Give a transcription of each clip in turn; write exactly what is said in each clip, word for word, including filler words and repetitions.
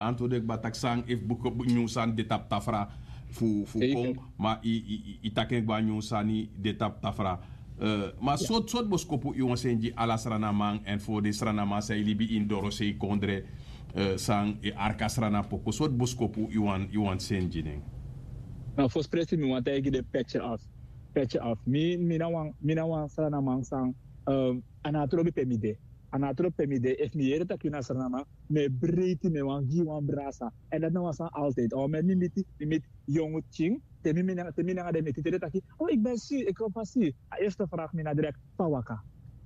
Anto de kba taki san efu buku nyun sani de tapu tafra fu fu kon. Ma i i i taki en kba nyun sani de tapu tafra. Ma soti soti boskopu i wan seni gi ala sranaman èn fo den sranaman san e libi ini dorosei kondre, san e arki a srana poko soti boskopu i wan i wan seni gi den? Na fospresi mi wan taigi den petje af. Petje af mi mi na wan mi na wan sranaman san a na a trobi pe mi de. A na a trobi pe mi de efu mi yere taki yu na sranaman, mi e breiti mi e wani gi yu wan brasa. Èn dati na wan sani altijdi a wan meni mi miti mi miti yongu pikin. Te mi nanga den miti te den taki, o iki ben si iki kon fasi. A erste fragi mi na direkti fa waka.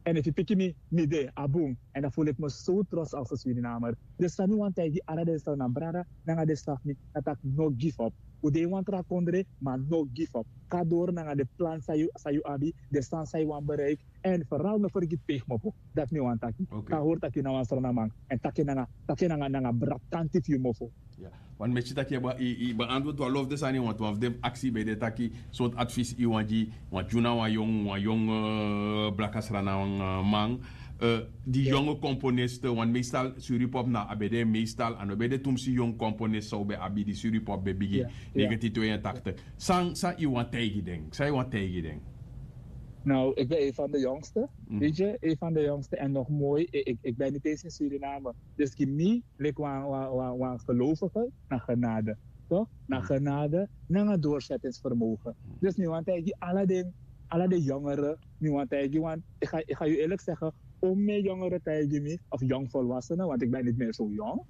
Èn efu yu piki mi mi de a bun. Èn dan fulu iki mi so tros alse swini na a mari. Den san mi wani taigi ala den sranaman brada nanga den srafi mi na taki no gifop. Un de ini wan tra kondre ma no gifop. Kon na doro nanga den plan san yu abi, den sani san yu wani bereiki. Èn feral no fergiti pe yu kmopo. Dati mi wani taki. Kan hori taki yu na wan sranaman èn taki nanga taki nanga nanga brabtanti fu yu mofo. Wan mesi taki yu ben antwoord wan lof den sani want wan fu den aksi ben de taki, sortu advis yu wan gi wan tyuna wan yong wan yong blaka sranaman. Di yonge komponiste wan meestal suripop na a ben de meestal a no ben de tumsi yong komponiste san un ben abi di suripop ben bigi. Negentien tweeëntachtig. San san yu wan taigi den san yu wan taigi den? Nou, ik ben een van de jongste. Weet je, een van de jongste en nog mooi. Ik ben niet eens in Suriname. Dus ki mi leki wan wan wan wan gelovige na genade. Toch na genade nanga doorzettingsvermogen. Dus mi wan taigi ala den ala den jongeren. Mi wan taigi wan ik ga ik ga yu eerlijk zeggen, om mi jongeren taigi mi of jong volwassenen want ik ben niet meer zo jong.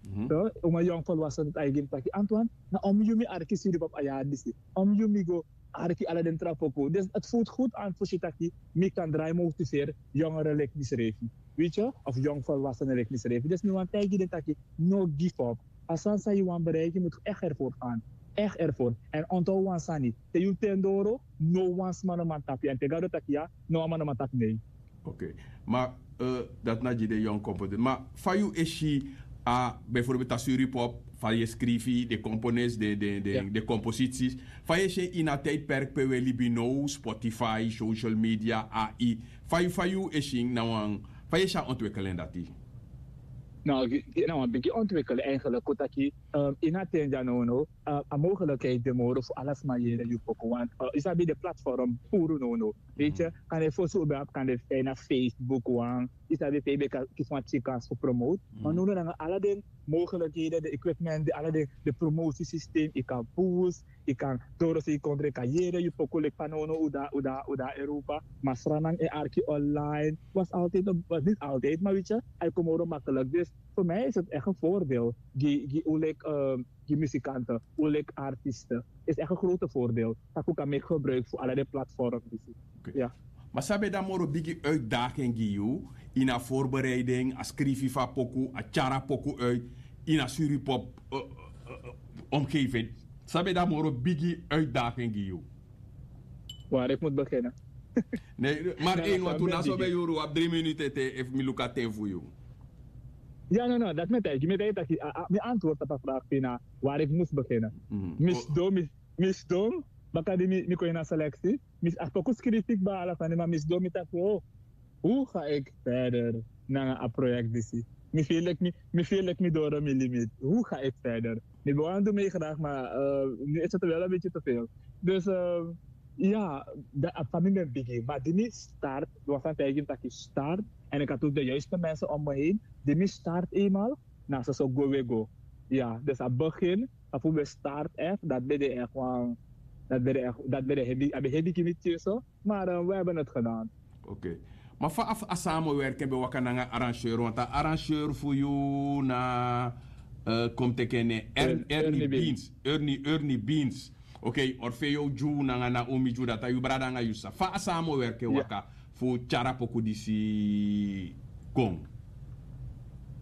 Om mi jong volwassenen taigi mi taki Antoine, na om yu mi arki siri pap a yari disi. Om yu mi go arki ala den tra poku. Dus het voelt goed aan fu si taki mi kan drai motiveri jongeren leki mi srefi. Weet je, of jong volwassenen leki mi srefi dus mi wan taigi den taki, no give up. A sani san yu wan bereiki yu mus echt ervoor gaan. Echt ervoor. En onthou wan sani, te yu ten doro, no wan sma no man tapu yu en te gado taki ya, no wan man no man tapu nei. Oké. Ma dati na gi den yong komponist ma fa yu e si a bijvoorbeeld a suripop fa yu e skrifi den komponist den komposities, fa yu e si en ini a tijdperk pe wi e libi now, spotify, social media, ai, fa yu fa yu e si en na wan fa yu e si a ontwikkel en dati? Na wan bigi ontwikkel eigenlijk kon taki ini a ten dya nownow a mogelijkheid de moro fu ala sma yere yu poku want yu sabi de platform puru nownow. Weet je, kan de fosi un ben abi kan de fijna facebook wan, yu sabi pe yu ben kan kisi wan tyikans fu promote. Maar nownow nanga ala den mogelijkheden de equipment de ala den de promotiesysteem yu kan boost, yu kan doro se yu kon drinka yere yu poku leki fa nownow un de a europa. Maar sranang en arki online was altijd op was niet altijd maar weet je, a e kon moro makkelijk dus voor mij is het echt een voordeel. Gi gi un leki gi muzikanten un leki artiesten is echt een grote voordeel. Taku kan meki gebruik fu ala den platform disi. Ma san ben de a moro bigi uitdaging gi yu ini a voorbereiding a skrifi fu a poku a tyari a poku uit ini a suripop omgeving? San ben de a moro bigi uitdaging gi yu? Waar ik moet beginnen. Nee, maar één want un na so ben yuru wi abi drie minuten te efu mi luku a ten fu yu. Ya no no dati mi e taigi mi e taigi taki mi antwoord tapu a vraag fu yu na waar ik mus beginnen. Mi sidon mi sidon baka di mi kon ini a seleksi. Mi a poku skrifi kba ala sani ma mi sidon mi taki o, hoe ga ik verder nanga a projekt disi? Mi feel like mi mi feel like mi doro mi limit, hoe ga ik verder? Mi ben wani du mi graag ma nu is het wel een beetje te veel. Dus ya, a fa mi ben bigin ma di mi start wan sani taigi mi taki start. En ik had ook de juiste mensen om me heen di mi start eenmaal. Na soso gwe we go. Ya dus a begin a fu ben start echt dat ben de echt wan dat ben de echt dat ben de hebi a ben hebi gi mi tyeso. Maar we hebben het gedaan. Oké. Ma fa a samenwerking ben waka nanga arrangeur want a arrangeur fu yu na kom teken nen erni beans erni erni beans. Oké, orfeo dyu nanga na umi dyu dati a yu brada nanga yu sa fa a samenwerking waka fu tyari a poku disi kon?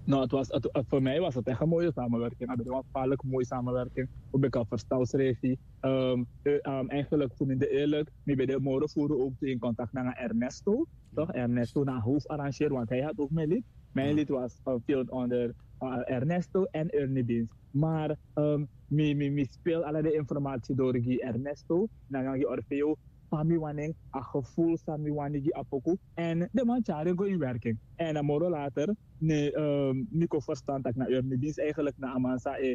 No, het was het, voor mij was het echt een mooie samenwerking. Het was een gevaarlijk mooie samenwerking. Hoe ben ik al verstaan schrijf eigenlijk fu mi de eerlijk mi ben de moro furu ook in contact nanga Ernesto. Toch Ernesto na hoofdarrangeur want hij had ook mijn lied. Mijn lied was gefilmd onder Ernesto en Ernie Beans. Maar mi mi mi speel ala de informatie door gi Ernesto nanga gi Orfeo. Fa mi wani en a gevoel san mi wani gi a poku. En de man tyari en go in werking en a moro later ne mi kon verstan taki na Ernie Beans eigenlijk na a man san e